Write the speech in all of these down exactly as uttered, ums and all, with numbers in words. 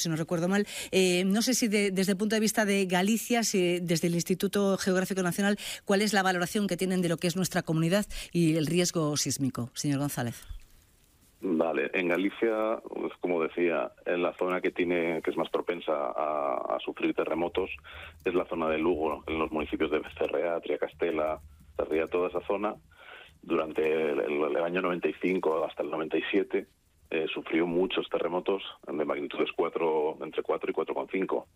si no recuerdo mal. Eh, no sé si de, desde el punto de vista de Galicia, si desde el Instituto Geográfico Nacional, ¿cuál es la valoración que tienen de lo que es nuestra comunidad y el riesgo sísmico, señor González? Vale, en Galicia, pues, como decía, en la zona que tiene que es más propensa a, a sufrir terremotos es la zona de Lugo, en los municipios de Becerrea, Triacastela, Sarria, toda esa zona. Durante el, el, el año noventa y cinco hasta el noventa y siete eh, sufrió muchos terremotos de magnitudes cuatro, entre cuatro y cuatro coma cinco.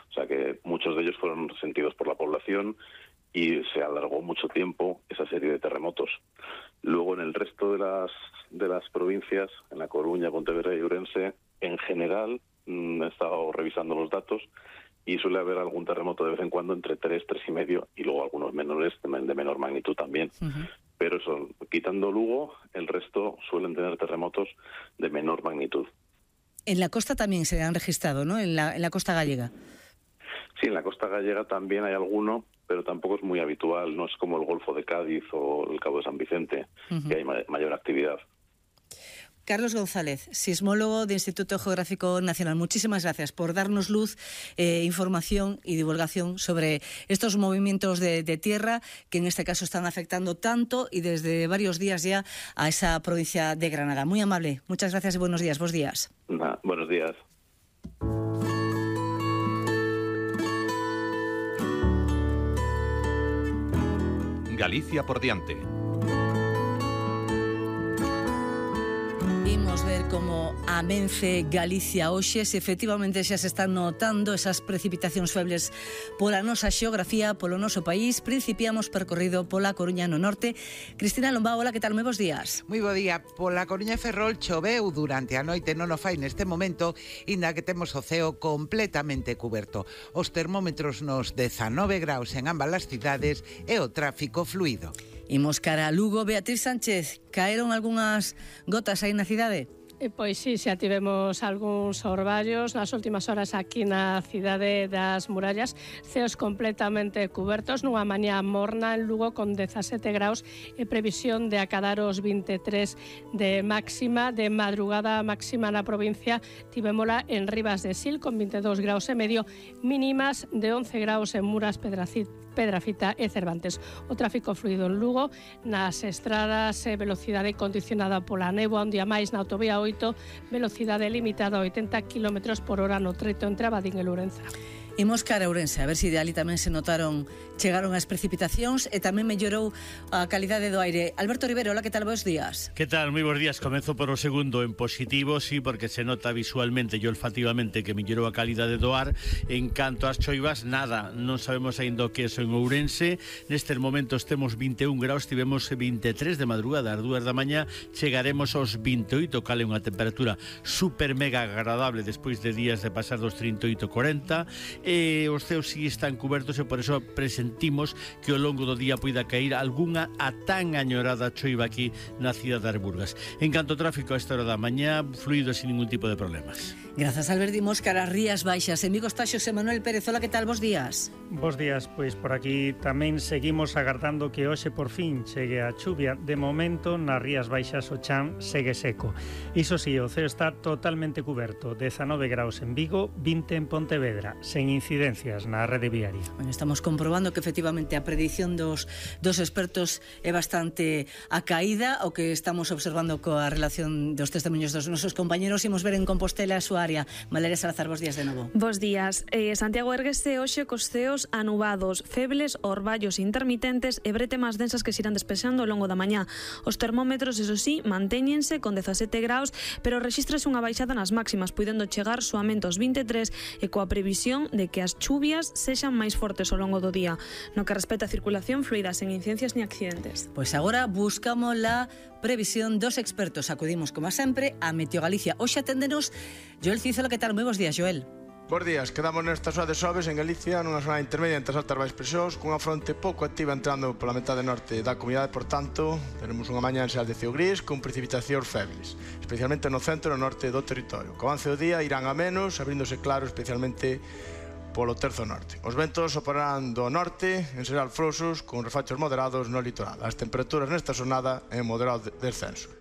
O sea que muchos de ellos fueron sentidos por la población y se alargó mucho tiempo esa serie de terremotos. Luego, en el resto de las de las provincias, en La Coruña, Pontevedra y Ourense, en general, mmm, he estado revisando los datos y suele haber algún terremoto de vez en cuando entre tres, tres y medio y luego algunos menores de, de menor magnitud también. Uh-huh. Pero eso, quitando Lugo, el resto suelen tener terremotos de menor magnitud. En la costa también se han registrado, ¿no? En la, en la costa gallega. Sí, en la costa gallega también hay alguno, pero tampoco es muy habitual. No es como el Golfo de Cádiz o el Cabo de San Vicente, uh-huh, que hay ma- mayor actividad. Carlos González, sismólogo del Instituto Geográfico Nacional. Muchísimas gracias por darnos luz, eh, información y divulgación sobre estos movimientos de, de tierra que en este caso están afectando tanto y desde varios días ya a esa provincia de Granada. Muy amable. Muchas gracias y buenos días. Buenos días. Nah, buenos días. Galicia por diante. Imos ver como amense Galicia hoxe, se efectivamente xa se están notando esas precipitacións febles pola nosa xeografía, polo noso país. Principiamos percorrido pola Coruña no norte. Cristina Lombao, hola, que tal? Moi bons días. Moi bo día. Pola Coruña e Ferrol choveu durante a noite, non o fai neste momento, inda que temos o ceo completamente cuberto. Os termómetros nos dezanove graus en ambas as cidades e o tráfico fluido. Imos cara a Lugo. Beatriz Sánchez, caeron algunhas gotas aí na cidade? Eh, pois sí, xa tivemos algúns orballos nas últimas horas aquí na cidade das Murallas, ceos completamente cubertos, nunha mañá morna en Lugo con dezasete graus e previsión de acadar os vinte e tres de máxima. De madrugada máxima na provincia tivémola en Rivas de Sil con vinte e dous graus e medio, mínimas de once graus en Muras, Pedracit, Pedrafita e Cervantes. O tráfico fluido en Lugo, nas estradas, eh, velocidade condicionada pola néboa, un día máis na autovía oito, velocidade limitada a oitenta kilómetros por hora no treto entre Abadín e Lourenza. Imos cara a Ourense, a ver se de ali tamén se notaron, chegaron as precipitacións e tamén mellorou a calidade do aire. Alberto Rivero, hola, que tal? Bos días. Que tal? Moi bons días. Comenzo por o segundo en positivo, sí, porque se nota visualmente e olfativamente que mellorou a calidade do ar. En canto ás choivas, nada, non sabemos aínda o que é eso en Ourense. Nestes momentos temos vinte e un graus, tivemos vinte e tres de madrugada, ás dúas da mañá chegaremos aos vinte e oito, cale unha temperatura super mega agradable despois de días de pasar dos trinta e oito corenta. E os ceos si están cubertos e por eso presentimos que ao longo do día poida caer algunha a tan añorada choiva aquí na cidade das Burgas. En canto ao tráfico a esta hora da mañá, fluido sin ningún tipo de problemas. Grazas, Alberto. Imos cara a Rías Baixas. En Vigo está Xosé Manuel Pérez. Hola, que tal? Bos días. Bos días, pois por aquí tamén seguimos agardando que hoxe por fin chegue a chuvia. De momento, nas Rías Baixas o chan segue seco. Iso si, o ceo está totalmente cuberto. dezanove graus en Vigo, vinte en Pontevedra, sen incidencias na rede viaria. Bueno, estamos comprobando que efectivamente a predición dos, dos expertos é bastante a caída. O que estamos observando coa relación dos testemunhos dos nosos compañeros, imos ver en Compostela a súa área. Valeria Salazar, bos días de novo. Bos días. Eh, Santiago erguese hoxe cos ceos anubados, febles, orballos intermitentes e bretemas densas que se irán despexando ao longo da mañá. Os termómetros, eso sí, mantéñense con dezasete graus, pero rexistrase unha baixada nas máximas, puidendo chegar soamente aos vinte e tres e coa previsión de que as chuvias sexan máis fortes ao longo do día. No que respecta a circulación fluida, sen incidencias ni accidentes. Pois agora buscamos la previsión dos expertos. Acudimos, como sempre, a Meteo Galicia. Hoxe aténdenos Joel Cízola. Que tal? Moi bons días, Joel. Bos días, quedamos nesta zona de xoves en Galicia, nunha zona intermedia entre as altas baixas presións, cunha fronte pouco activa entrando pola metade norte da comunidade, por tanto, tenemos unha mañá en xeral de ceo gris con precipitacións febles, especialmente no centro e no norte do territorio. Co avance do día irán a menos, abríndose claro especialmente polo terzo norte. Os ventos soprarán do norte, en xeral frouxos, con refachos moderados no litoral. As temperaturas nesta xornada en moderado descenso.